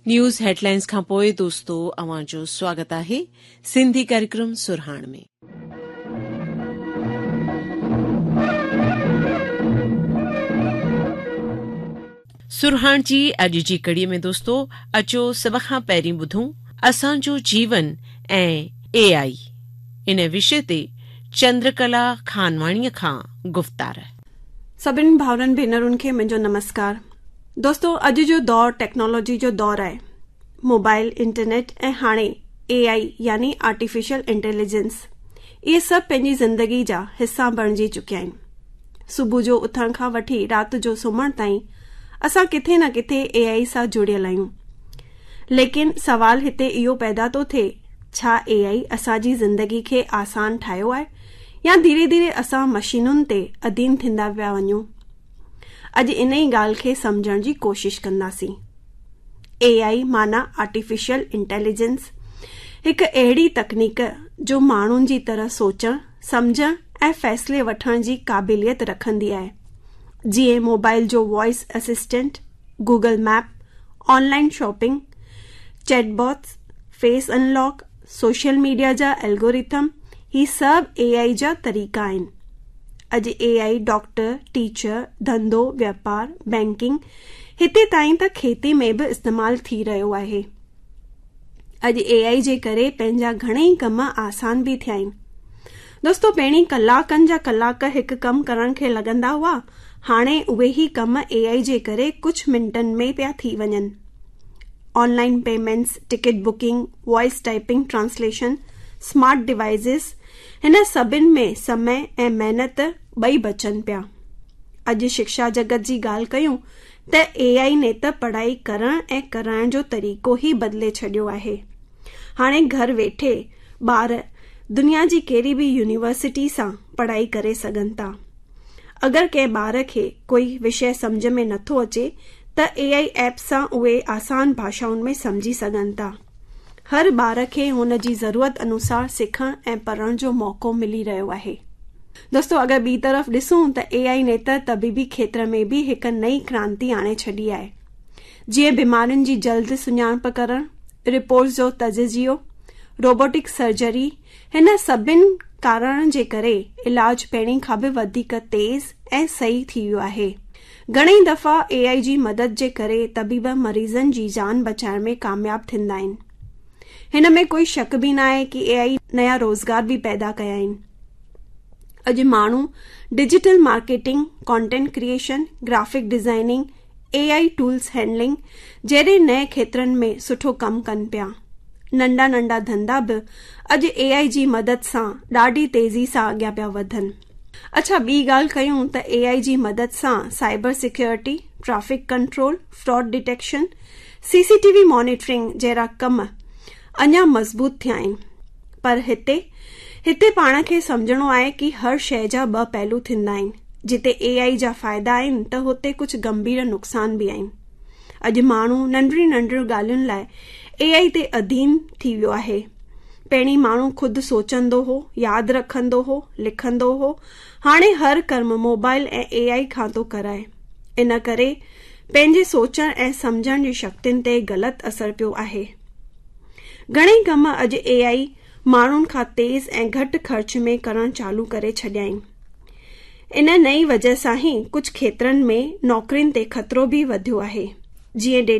News headlines کان پوء دوستو اوهان جو سواگت آهي سنڌي ڪاريڪرم سرهاڻ ۾. سرهاڻ جي اڄ جي ڪڙي ۾ دوستو اچو سڀ کان پهرين ٻڌون اسان جو جيون ۽ اي آئي ان وشي تي چندرڪلا خانواڻيء کان گفتار. سڀني ڀائرن ڀينرن کي منهنجو نمسڪار. دوستو اڄ جو دور ٽيڪنالاجي جو دور آهي. موبائل، انٽرنيٽ ۽ هاڻي اي آئي يعني آرٽيفيشل انٽيليجنس اهي سڀ پنهنجي زندگي جا حصا بڻجي چڪيا آهن. صبح جو اٿڻ کان وٺي رات جو سمهڻ تائين اسان ڪٿي نه ڪٿي اي آئي سان جڙيل آهيون. ليڪن سوال هتي اهو پيدا ٿو ٿئي ڇا اي آئي اسان جي زندگي کي آسان ٺاهيو آهي يا ڌيري ڌيري اسان مشينن تي اڌين ٿيندا پيا وڃون؟ اڄ انهي ڳالهه کي سمجهڻ جي ڪوشش ڪنداسين. اي آئي معنيٰ آرٽيفيشل انٽيليجنس هڪ اهڙي تڪنيڪ جو ماڻهن جي طرح سوچڻ، سمجهڻ ۽ فيصلي وٺڻ جي قابليت رکندي آهي. جيئن موبائل جو voice assistant, Google map, online shopping, chatbots, face unlock, social media جا الگورٿم هي سڀ اي آئي جا طريقا آهن. اڄ اي آئي ڊاڪٽر، ٽيچر، ڌنڌو، واپار، بينڪنگ هتي تائين ته کيتي ۾ به استعمال ٿي رهيو آهي. اڄ اي آئي جي ڪري پنهنجا گهڻئي ڪم آسان به ٿيا آهن. دوستو پهرين ڪلاڪن جا ڪلاڪ هڪ ڪم ڪرڻ کي لڳندا هئا هاڻي اهي ئي ڪم اي آئي جي ڪري ڪجهه منٽن ۾ پيا ٿي وڃن. Online payments, ticket booking, voice typing translation, smart devices هن سڀن ۾ سمي ۽ محنت ٻئي بچن پيا. اڄ شڪشا جڳت جي ڳالهه ڪيون ته اي آئي ني ته پڙهائي ڪرڻ ۽ ڪرائڻ جو طريقو ئي بدلي ڇڏيو آهي. هاڻي گهر ويٺي ٻار دنيا جي ڪهڙي به يونيورسٽي سان پڙهائي ڪري سگهن ٿا. اگر ڪنهن ٻار کي ڪوئي وشيه سمجهه ۾ نٿو اچي ته اي آئي ايپ سان اهي آسان ڀاشائن ۾ سمجهي سگهن ٿا. هر ٻار کي هن جي ضرورت انوسار سکڻ ۽ پڙهڻ جو موقعو ملي رهيو آهي. دوستو اگر ٻي طرف ڏسون ته اي آئي ني ته طبيبي کيتر ۾ به هڪ نئين ڪرانتي آڻي ڇڏي آهي. جيئن بيمارين جي جلد سڃاڻپ ڪرڻ، رپورٽس جو تجزيو، روبوٽڪ سرجري، هن سڀن ڪارڻن جي ڪري علاج پهرين کان به وڌيڪ تيز ۽ صحيح ٿي ويو آهي. گهڻئي دفعا اي آئي جي مدد جي ڪري طبيب مريضن جي جان بچائڻ ۾ ڪامياب ٿيندا آهن. هن ۾ ڪوئي شڪ به ناهي ڪي اي آئي نيا روزگار به پيدا ڪيا آهن. اڄ ماڻهو digital marketing, content creation, graphic designing, A I tools handling جهڙي نئين کيترن ۾ سٺو ڪم ڪن پيا. ننڍا ننڍا ڌنڌا به اڄ اي آئي جي مدد سان ڏاڍي تيزي سان اڳيان پيا وڌن. اڇا ٻي ڳالهه ڪيون ته اي آئي جي مدد سان cyber security, traffic control, fraud detection, C C T V monitoring جهڙا ڪم اڃا مضبوط ٿيا آهن. پر هتي هتي پاڻ کي سمجهڻو آهي ڪي هر شيء جا ٻه پهلو ٿيندا آهن. جتي اي آئي جا فائدا آهن ته هتي ڪجهه گنڀير نقصان به آهن. اڄ ماڻهو ننڍڙيون ننڍڙيون ڳالهين لاء اي آئي تي اڌين ٿي ويو آهي. پهرين ماڻهو خود سوچندو هو، ياد رکندو هو، لکندو هو، هاڻي هر ڪم موبائل ۽ اي آئي کان ٿو ڪرائي. ان ڪري پنهنجي سوچڻ ۽ سمجهڻ جي شڪتين تي غلط اثر پيو آهي. گهڻئي ڪم اڄ اي آئي ماڻهن کان تيز ۽ گهٽ خرچ ۾ ڪرڻ چالو ڪري ڇڏيا آهن. ان نئين وجه سان ئي ڪجهه کيترن ۾ نوڪرين تي خطرو به وڌيو آهي. جيئن ڊيٽا.